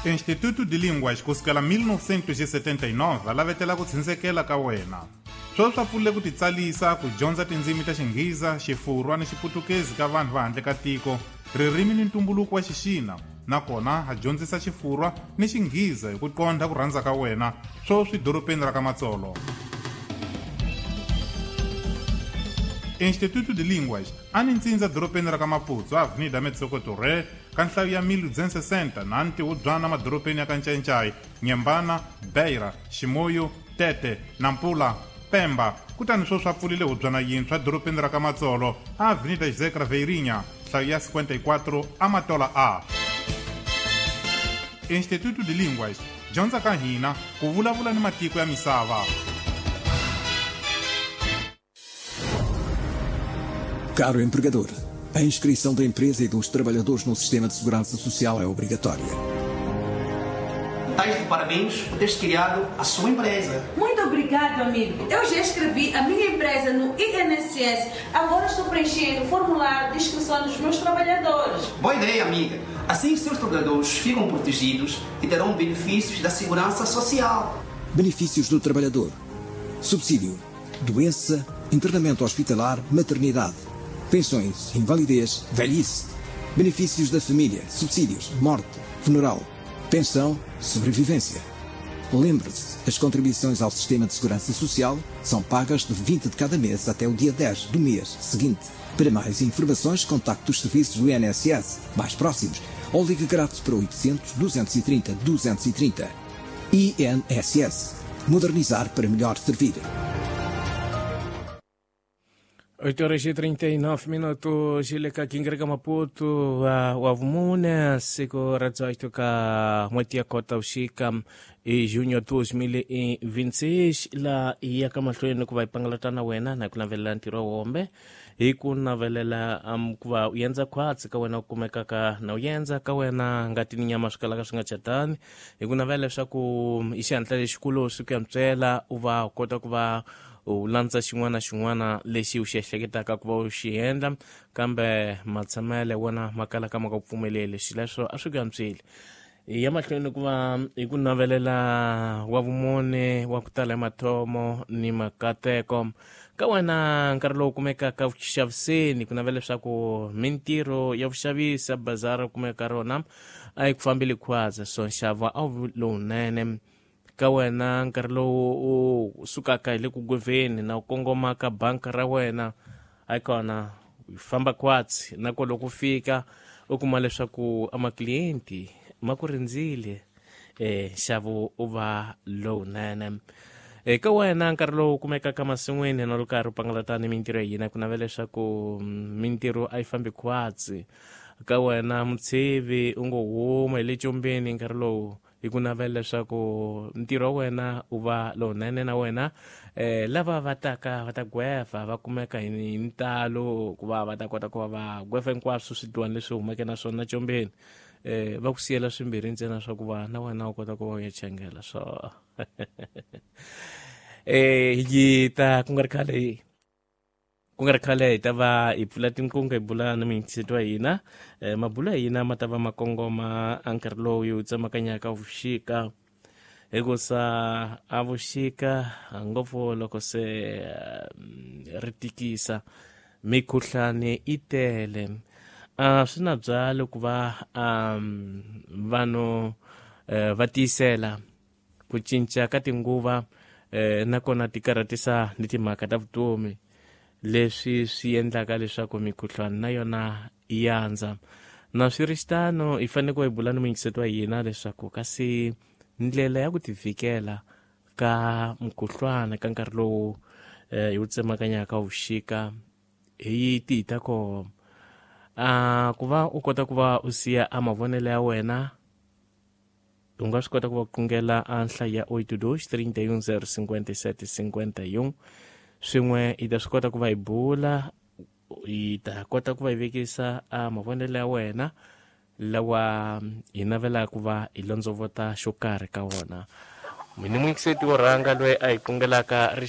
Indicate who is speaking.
Speaker 1: Instituto de Línguas kusukela 1979 va lavetela ku tshindzekela ka wena. Sweswi swa pfulile ku titsalisa ku dyondza tindzimi ta Xinghiza, Xifurwa ni Xiputukezi ka vanhu va handle ka tiko, ririmi ni ntumbuluko wa Xixina, nakona ha dyondzisa Xifurwa ni Xinghiza hi ku qondha ku rhandza ka wena, sweswi dorobeni ra ka Matsolo. Instituto de Línguas a ni ntsindza dorobeni ra ka Maputsu, Avenida Metsoko Torre, ka nhlayo ya 1260 na ntihubyana madorobeni ya ka Ncayincai, Nyembana, Beira, Ximoyo, Tete, Nampula, Pemba, kutani sweswi a pfulile hubyana yintshwa dorobeni ra ka Matsolo, Avenida José Craveirinha, nhlayo ya 54, Amatola A. Instituto de Línguas, dyondza ka hina ku vulavula ni matiko ya misava.
Speaker 2: Caro empregador, a inscrição da empresa e dos trabalhadores no sistema de segurança social é obrigatória.
Speaker 3: Estás de parabéns por teres criado a sua empresa.
Speaker 4: Muito obrigado, amigo. Eu já inscrevi a minha empresa no INSS. Agora estou preenchendo o formulário de inscrição dos meus trabalhadores.
Speaker 3: Boa ideia, amiga. Assim os seus trabalhadores ficam protegidos e terão benefícios da segurança social.
Speaker 2: Benefícios do trabalhador. Subsídio, doença, internamento hospitalar, maternidade, pensões, invalidez, velhice, benefícios da família, subsídios, morte, funeral, pensão, sobrevivência. Lembre-se, as contribuições ao sistema de segurança social são pagas de 20 de cada mês até o dia 10 do mês seguinte. Para mais informações, contacte os serviços do INSS mais próximos ou ligue grátis para 800 230 230. INSS. Modernizar para melhor servir.
Speaker 5: 8 horas e 39 minutos ileka kingereka Maputo wavumune siku ra 18 ka n'hweti ya kota vuxika hi junho 2026 la hi yaka mahlweni ku va hi pangalata na wena na hi ku navelela ntirho wombe hi ku navelela ku va u endza khwatsi ka wena u kumekaka na u endza ka wena ngati ni nyama swi kalaka swi nga chatani hi ku navela leswaku i xihatla lexikulu swi ku yantswela u va u kota ku va u landza xin'wana na xin'wana lexi u xi ehleketaka ku va u xi endla kambe matshamele wona ma kalaka ma nga ku pfumeleli xileswo a swi ku antswile hi ya mahlweni ku va hi ku navelela wa vumune wa ku tala hi mathomo ni makateko ka wena nkarhi lowu kumekaka vuxaviseni ku navela leswaku mintirho ya vuxavisi ya bazara kumeka ka rona a yi ku fambeli khwaza so nxavo a wu lowunene ka wena nkarhi lowu u sukaka hi le ku gweveni na u kongoma ka banka ra wena a kona u famba kwatsi na ko loko u fika u kuma leswaku amaklienti ma ku rindzile nxavo u va lowunene eka wena nkarhi lowu kumekaka masin'wini na loko karhi u pangalata ni mintirho ya hina ku navela leswaku mintirho a yi fambi khwatsi ka wena mutshivi u ngo huma hi le combeni nkarhi lowu hi ku navela leswaku ntirho wa wena u va lowunene na wena lava va taka va ta gweva va kumeka hi ntalo ku va va ta kota ku va va gweva hinkwaswo swidluwani leswi humeke na swona combeni va ku siyela swimbirhi ntsena swa ku va na wena u kota ku va u ya changela so yi ta ku nga ri khale ku nga ri khale hi ta va hi pfula tinqingho hi bula na miyingiseti wa hina mabulo ya hina ma ta va ma kongoma a nkarhi lowu hi wu tsemakanyaka vuxika hikusa a vuxika ngopfu loko se ri tikisa mikhuhlani yi tele a swi na byalo ku va vanhu va tiyisela ku cinca ka tinguva nakona ti karhatisa ni timhaka ta vutomi leswi swi endlaka leswaku mikhuhlwani na yona yi andza na swi ri xitano hi fanele ku hi bula ni muyingiseti wa hina leswaku kasi ndlela ya ku tivikela ka mukhuhlwana ka nkarhi lowu hi wu tsemakanyaka vuxika hi tihi ta koho ku va u kota ku va u siya a mavonelo ya wena u nga swi kota ku va qungela a nhlayo ya 82 31 057 51 swin'we hi ta swi kota ku va hi bula hi ta kota ku va hi vekisa a mavonelo ya wena lawa hi navelaka ku va hi londzovota xo karhi ka wona mina muyingiseti wo rhanga loyi a hi qungelaka ri